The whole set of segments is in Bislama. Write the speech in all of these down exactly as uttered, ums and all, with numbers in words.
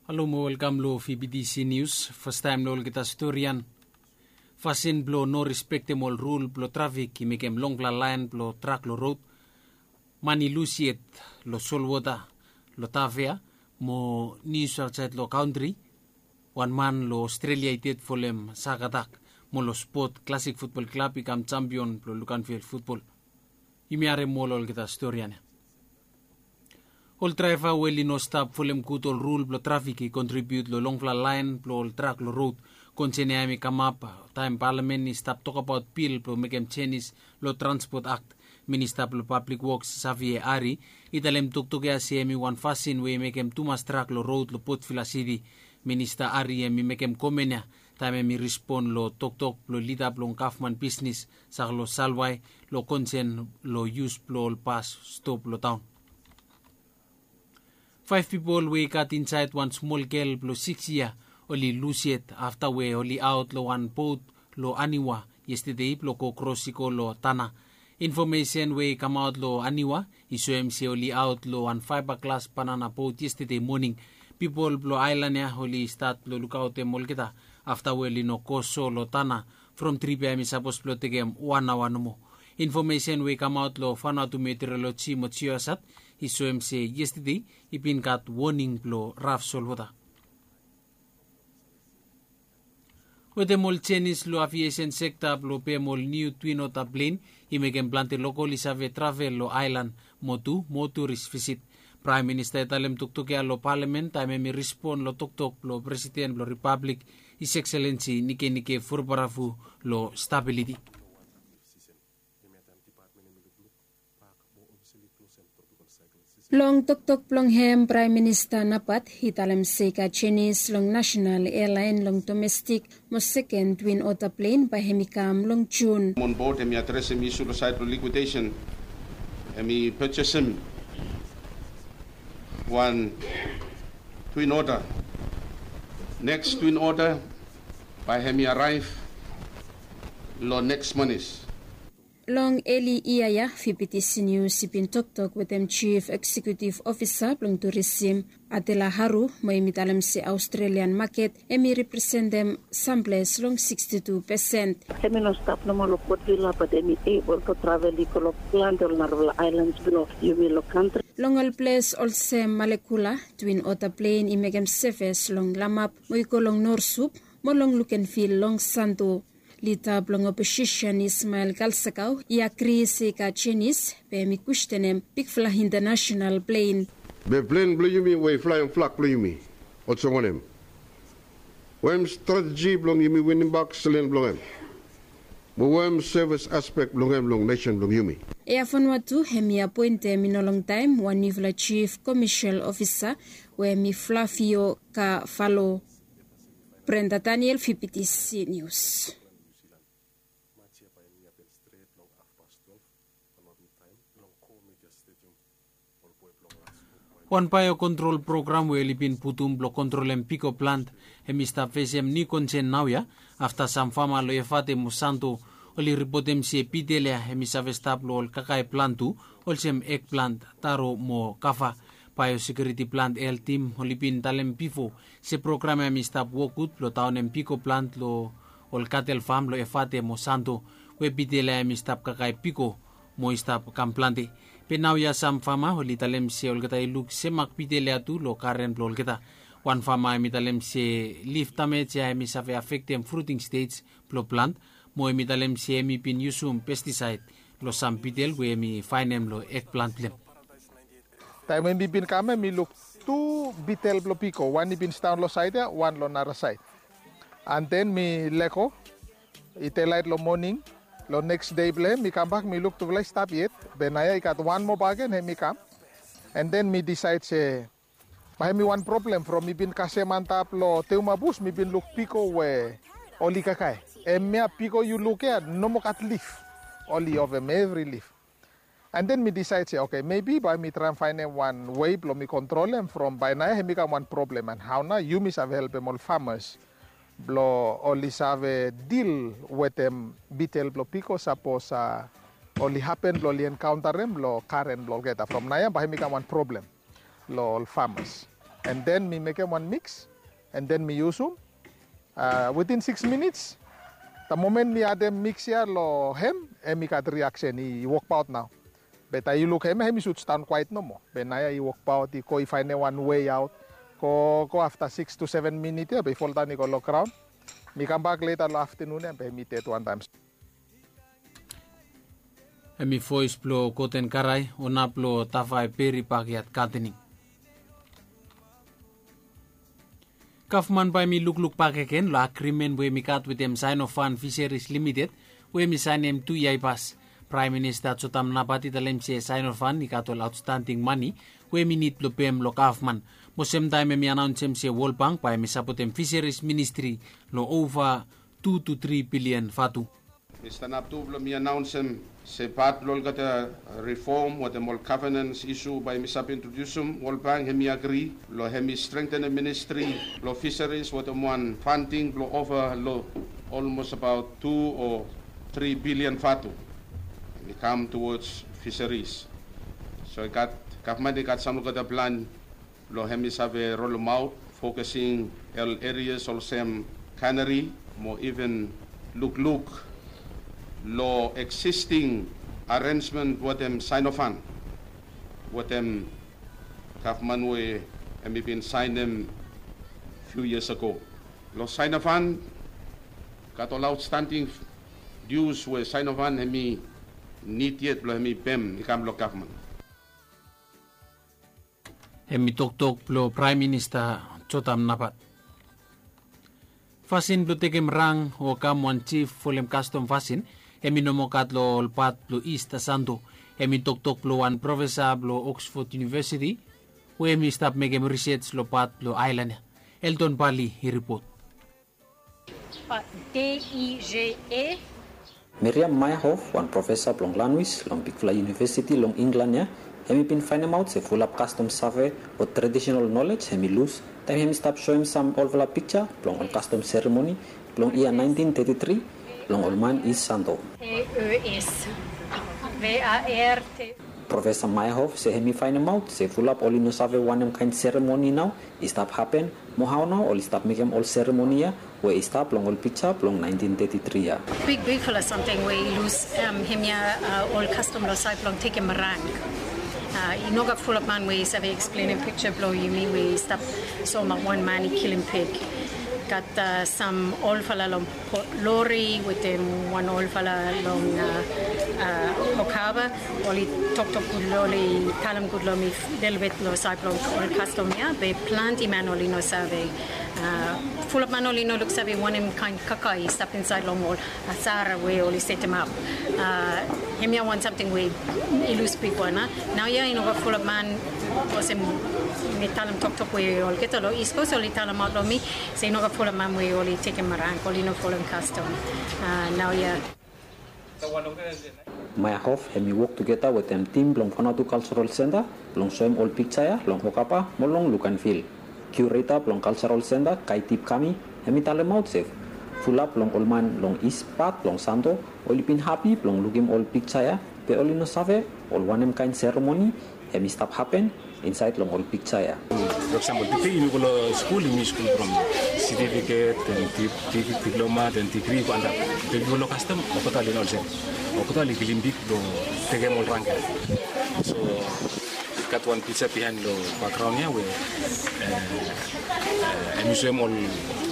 Halo mo welkam long V B T C News. Fastaem long olgeta storian. Fasin blong no respektem ol rul blong trafik i mekem longfala laen blong trak long rod. Man i lus yet long solwota long Tafea, mo nius aotsaed long kantri. Wan man long Australia i ded folem sak atak, mo long spot Classic Football Club i kam jampion blong Luganville futbol. Yumi harem ol olgeta storian ya. Ol draeva we oli no stap folem gud ol rul blong trafik i kontribiut long longfala laen blong ol trak long rod. Konsen ya hem i kamap taem palamen i stap tokbaot bil blong mekem jenis long Transport Act. Minista blong Pablik Woks Savie Ari i talem toktok ya se hem i wan fasin we i mekem tumas trak long rod long Potvila Siti. Minista Ari hem i mekem komen ya taem hem i rispon long toktok blong lida blong gavman bisnis Saklo Salwai long konsen long yus blong ol bas stop long taon. Faef pipol we i gat insaed wan smol gel blong sikis yia oli lus yet afta we oli aot long wan bot long Aniwa yestede blong go kros i go long Tana. Infomesen we i kamaot long Aniwa i soem se oli aot long wan faeba glas banana bot yestede moning. Pipol blong aelan ya oli stat blong lukaotem olgeta afta we oli no go so long Tana from trip ya hem i sapos blong tekem wan aoa nomo. Infomesen we i kamaot long Vanuatu Meteorology mo Geosat i soem se yestede i bin gat woning blong raf solwota. Wetem ol jenis long aviesen sekta blong pem ol niu Twin Otter plen i mekem plante lokol i save travel long aelan mo tu mo turis visit. Praem Minista i talem toktok ya long palamen taem hem i rispon long toktok blong Presiden blong Ripablik, His Excellency Nikenike Vurobaravu long stabiliti. Long toktok blong hem, Praem Minista Napat i talem se i gat jenis long nasenal ealaen long domestik mo seken Twin Otter plen bae hem i kam long Jun. On board, hem i adresem isu long saed blong likwidesen. Hem i pejesem wan Twin Otter. Neks Twin Otter bae hem i araev long neks manis. Long eli yia ya, V B T C News i bin toktok wetem Jif Eksekutif Ofisa blong Turisim, Adela Haru, mo hem i talem se Aostrelian maket hem i representem samples long sikstitu pesen. Hem i no stap nomo long Port Vila, bat hem i ebol blong travel i go long plante ol narafala aelans blong yumi long kantri. Long ol ples olsem Malekula, Twin Otter plen i mekem seves long Lamap mo i go long Norsup mo long Lukenvil long Santo. Lida blong oposisen Ismael Kalsakau i agri se i gat jenis, be hem i kwestenem bigfala intanasenal plen. Be plen blong yumi we i flaem flag blong yumi olsem wanem? Wanem strateji blong yumi winimbak selen blong hem? Mo wanem sevis aspek blong hem long nesen blong yumi? Ea Vanuatu hem i apoentem i no longtaem wan niufala jif komesel ofisa we hem i Flavio Kavalo. Brenda Daniel, V B T C News. Wan baeo kontrol program we oli bin putum blong kontrolem piko plant hem i stap fesem niu konsen naoia afta sam fama long Efate mo Santo oli ripotem se bitel ya hem i save stap long ol kakae plant tu, olsem ek plant, taro mo kava. Baeo sekiuriti plant el tim oli bin talem bifo se program ya hem i stap wok gud blong daonem piko plant long ol katel fam long Efate mo Santo we bitel ya hem i stap kakae piko mo i stap kam plante. Be naoia sam fama oli talem se olgeta i luk semak bitel ya tu long garen blong olgeta. Wan fama hem i talem se lif damej ya hem i save afektem fruting stej blong plant, mo hem i talem se hem i bin yusum pestisaed long sam bitel we hem i faenem long ekplant blong hem. Taem we mi bin kam ya mi luk tu bitel blong piko, wan i bin sidaon long saed ya, wan long nara saed. An den mi lego i delaet long moning long neks dei blong hem, mi kambak mi luk tufala i stap yet. Be naoia i gat wan moa bakegen hem i kam. An den mi disaed se bae hem i wan problem from mi bin kasem antap long Teuma bus mi bin luk piko we oli kakae. Hemia piko yu luk ya no moa gat lif. Oli ovem evri lif. An den mi disaed se, oke, mebi bae mi traem faenem wan wei blong mi kontrolem from bae naoia hem i kam wan problem. An hao nao yumi save helpem ol famas blong oli save dil wetem bitel blong piko sapos a oli hapen blong oli enkaontarem long garen blong olgeta. From naoia bae hem i kam wan problem long ol famas. And then mi mekem wan mix, and then mi yusum. Within six minutes, the moment mi adem mix ya long hem, hemi gat reaction, i wokbaot nao. Be taem yu luk hem, hemi sud stap kwaet nomo. Be naoia i wokbaot, i go, i faenem wan way out. Go go afta six to seven minit ya be i foldaon i go long graon. Mi kambak leta long aftenun ya be hemi ded wantaem. Hemi voes blong Goten Karai, ona blong Tafai Peri Backyard Gardening. Gavman bae hemi lukluk bakegen long agrimen we hemi gat wetem Sinofan Fisheries Limited we hemi saenem tu yia i pas. Praem Minista Jotam Napat i talem se Sinofan i gat ol aotstanding mane we hemi nid blong pem long gavman. Mo semtaem hemi anaonsem se World Bank bae hemi sapotem Fisheries Ministri long ova tu tu tri bilian vatu. Mi stanap tu blong mi anaonsem se pat blong olgeta rifom wetem ol gavenans isu bae mi save introdiusum, World Bank hemi agri blong hemi strengtenem ministri blong fisaris wetem wan fanding blong ova long olmos abaot tu o tri bilian vatu. Hemi kam tuwods fisaris. So i gat, gavman i gat sam olgeta plan blong hemi save rolemaot, fokasing ol erias olsem kanari mo iven lukluk long eksisting arensmen wetem Sinofan, wetem gavman we hemi bin saenem fiu yias ago. Long Sinofan gat ol aotstanding dius we Sinofan hemi nid yet blong hemi pem i kam long gavman. Hemi toktok blong Praem Minista Jotam Napat. Fasin blong tekem rang o kam wan jif folem kastom fasin hemi no moa gat long ol pat blong Ist Santo. Hemi toktok blong wan profesa blong Oxford University we hemi stap mekem risej long pat blong aelan ya. Elton Bali i ripot. Miriam Meyerhoff, wan profesa blong lanwis long bigfala yunivesiti long Inglan ya, hemi bin faenemaot se fulap kastom save o tradisenal nolej hemi lus taem hemi stap soem sam olfala piksa blong ol kastom seremoni blong yia naentin teti tri blong ol man Ist Santo. Profesa Meyerhoff se hemi faenemaot se fulap oli no save wanem kaen seremoni nao i stap hapen, mo hao nao oli stap mekem ol seremoni ya we i stap long ol piksa blong naentin teti tri ya. Big, bigfala samting we i lus, hemia ol kastom long saed blong tekem rang. I no gat fulap man we i save eksplenem piksa blong yumi we i stap soemaot wan man i kilim pig. Gat sam olfala long Port Lori wetem wan olfala long Okaba. Oli toktok gud, oli talem gud long mi lelebet long saed blong ol kastom ya, be plante man oli no save. Fulap man oli no luksave wanem kaen kaka i stap insaed long ol asara we oli setemap. Hemia wan samting we i lus bigwan. Naoia i no gat fulap man, olsem mi talem toktok we olgeta long East Coast oli talemaot long mi se i no gat fulap man we oli tekem rang, oli no folem kastom. Naoia. Meyerhoff hemi wok tugeta wetem tim blong Vanuatu Cultural Centre blong soem ol piksa ya long Okaba mo long Luganville. Kiureta blong Cultural Centre, Kaitip Kami, hemi talemaot se fulap long ol man long Ist pat blong Santo oli bin hapi blong lukim ol piksa ya, be oli no save ol wanem kaen seremoni hemi stap hapen insaed long ol piksa ya. For example, tede yumi go long skul, yumi yus gud from setifiket, den diploma, den digri i go antap. Be yumi go long kastom, olgeta oli no olsem. Olgeta oli kilim pig blong tekem ol rang ya. So gat wan piksa bihaen long bakgraon ya we hemi soem ol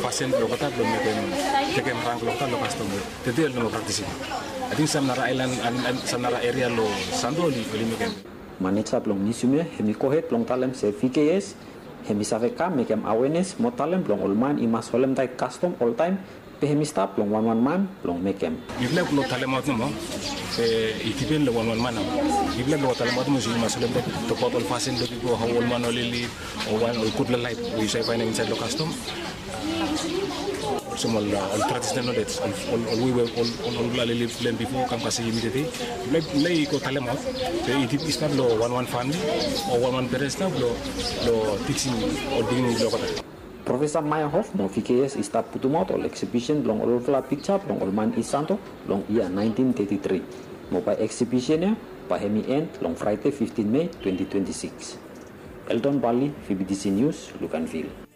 fasin blong olgeta blong mekem, tekem rang blong olgeta long kastom we tede oli no moa praktisim. Ating sam nara aelan, sam nara eria long Santo oli mekem. Maneja blong miusiam ya hemi gohed blong talem se V K S hemi save kam mekem awenes mo talem blong ol man i mas holemtaet kastom oltaem, be hemi stap long wanwan man blong mekem. Mifala i no talemaot nomo, be i dipen long wanwan man nao. Mifala i no talemaot nomo se yu mas holemtaet, tokbaot ol fasin blong pipol, hao ol man oli lid, o wan ol gudfala laef we yu save faenem insaed long kastom. Olsem ol tradisenal nolej, ol wei we ol olfala oli lid long hem bifo kam kasem yumi tede. Mifala i go talemaot, be i stap long wanwan famili o wanwan perens nao blong tijim ol pikinini blong olgeta. Profesa Meyerhoff mo V K S i stap putumaot ol eksibisen blong olfala piksa blong ol man Ist Santo long yia naentin teti tri. Mo bae eksibisen ya bae hemi en long Fraede fiftin Mei twenti twenti sikis. Elton Bali, V B T C News, Luganville.